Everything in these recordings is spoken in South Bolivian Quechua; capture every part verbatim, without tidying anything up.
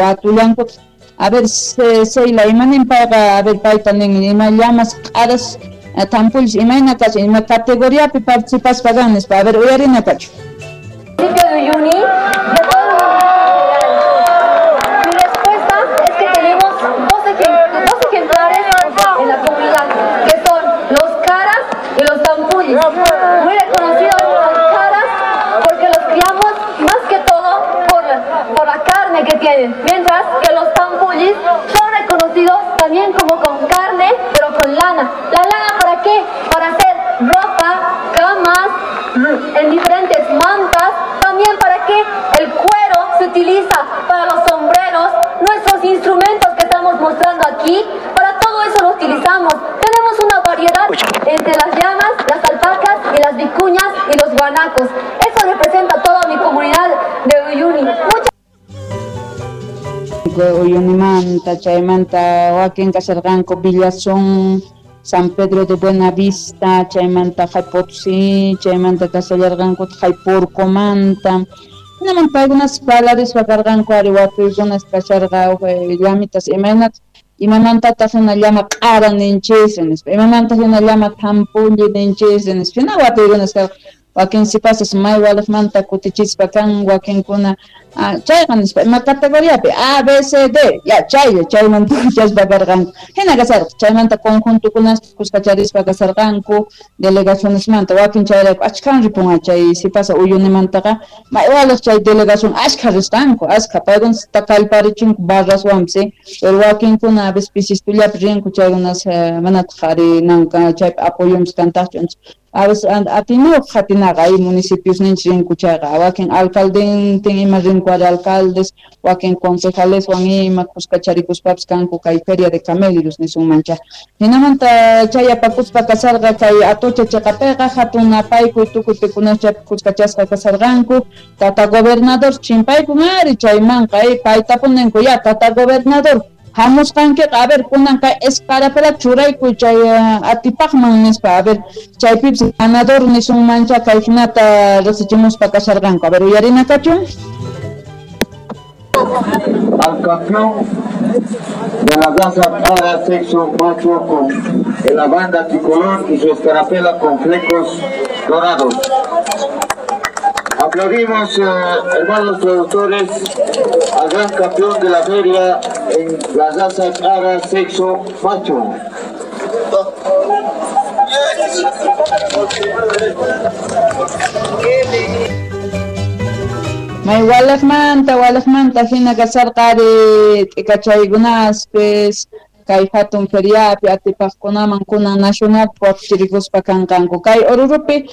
Watullankutaq. A ver, Sheila, imanin payqa, a ver, payta nin, ima llamas q'aras tampullis imayna kachin, ima categoriapi participaspa kan nispa, a ver, uyarina kachu. Municipio de Uyuni, de todo el mundo en general. Mi respuesta es que tenemos dos, ejem dos ejemplares en la comunidad, que son los caras y los tampullis. Muy reconocidos los caras porque los criamos más que todo por la, por la carne que tienen, mientras que los tampullis son reconocidos también como con carne, pero con lana. ¿La lana para qué? Para hacer ropa, camas, en diferentes mantas. También para qué el cuero se utiliza para los sombreros, nuestros instrumentos que estamos mostrando aquí, para todo eso lo utilizamos. Tenemos una variedad entre las llamas, las alpacas y las vicuñas y los guanacos. Eso representa toda mi comunidad de Uyuni. Muchas Uyunimanta, chaymanta wakin kasharqanku Villazón, San Pedro de Buenavista, chaymanta Potosí, chaymanta kashallarqanku Jaypurcomanta. Hinamanta paykunas parlarispa karqanku ari watuykunas kasharqa llamitas imaynata imamantataq hina llama q'ara ninchis nispa, imamanta hina llama tampulli ninchis nispa, hina watuykunas karqa. Wakin sipasas may waliqmanta kutichispa kan, wakinkuna chayqa nispa ima categoriapi A, B, C, D, ya chaylla chaymanta chaspa karqanku. Hina kasarqa chaymanta conjuntokunas kuskacharispa kasarqanku delegacionesmanta, wakin chayrayku achkhan ripunqa chay sipasa Uyunimantaqa may waliq chay delegación ashkha risqanku, ashkha paykunas kallparichinku barraswanpis, pero wakinkuna a veces pisistullapi rinku chaykunas manataq ari nanka chaypi apoyonpis kantaqchu. A veces atiniyuq qhatinaqa hay municipios ninchis rinku chayqa, wakin alcaldentin ima rinku ari alcaldes, wakin concejaleswan ima kuskacharikuspapis kanku kay feria de camélidos nisunmancha. Hinamanta chay apakuspa kasarqa kay Atocha chiqapiqa hatun napaykuy tukuy pikunas chaypi kuskachasqa kasarqanku, tata gobernador chimpaykun ari chaymanqa paytapuninku ya tata gobernador hamusqankiqa, a ver, kunan kay escarapela churaykuy chay atipaqman nispa, a ver, chaypipis ganador nisunmancha kay hinata riqsichimuspa kasharqanku. A ver, uyarina kachun. Al campeón de la raza para sexo macho con la banda tricolor y su escarapela con flecos dorados. Aplaudimos, eh, hermanos productores, al gran campeón de la feria en la raza cara sexo macho. May walaqmanta, walaqmanta hina kasarqa ari t'ikachaykunaspis kay hatun feriapi atipaqkunaman kunan nacional wakichirikuspa kanqanku. Kay Orurupi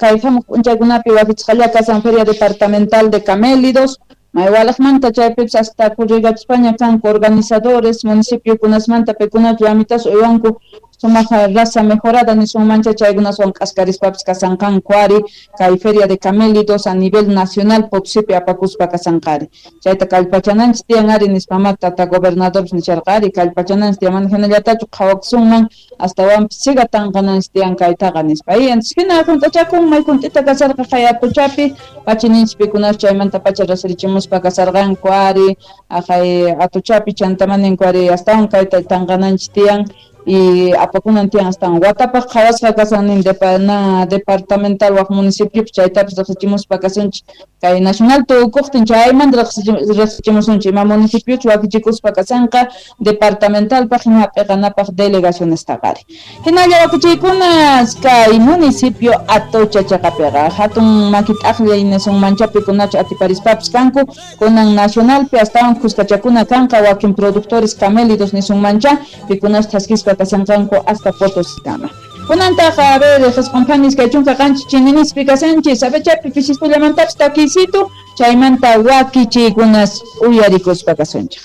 kay hamuq p'unchaykunapi wakichisqalla kasan feria departamental de camélidos. May walaqmanta chaypipis hasta kurrigachispaña kanku organizadores municipiokunasmanta paykunata llamitas uywanku sumaq raza mejorada nisunmancha chaykunaswan k'askarispapis kasanqanku ari kay feria de camélidos a nivel nacional Potosipi apakuspa kasanqari. Chayta kallpachananchis tiyan ari nispamá tata gobernadorpis nisharqa ari kallpachananchis tiyan mana hinallatachu qhawakusunman astawanpis siga tanqananchis tiyan kaytaqa nispa. Y entonces hina junt'achakun may junt'ita kasarqa kay Atochapi pachininchis pikunas chaymanta pacha rasirichimuspa kasarqanku ari aqay Atochapi chantamaninku ari astawan kayta tanqananchis tiyan y apakunan tiyan astawan watapaq qhawasqa kasan nin na departamental waq municipiopi chaytapis riqsichimuspa kasunchik kay nacional tukuqtin chaymanta riqsichimusunchik ima municipiochu wakichikuspa kasanqa departamentalpaq hina hap'iqanapaq delegacionestaqa ari. Hinalla wakichiykunas kay municipio Atocha chaqapiqa hatun makit'aqllay nisunmancha pikunachu atiparispapis kanku kunan nacionalpi astawan kuskachakuna kanqa wakin productores camélidos nisunmancha pikunas thaskispa kasanqanku hasta Potosikama. Kunantaqa, a ver, qhasqunpanis kay chunka qanchis chininispi kasanchis, a ver chaypi pisiskullamantapis takiysitu, chaymanta wakichiykunas uyarikuspa kasunchik.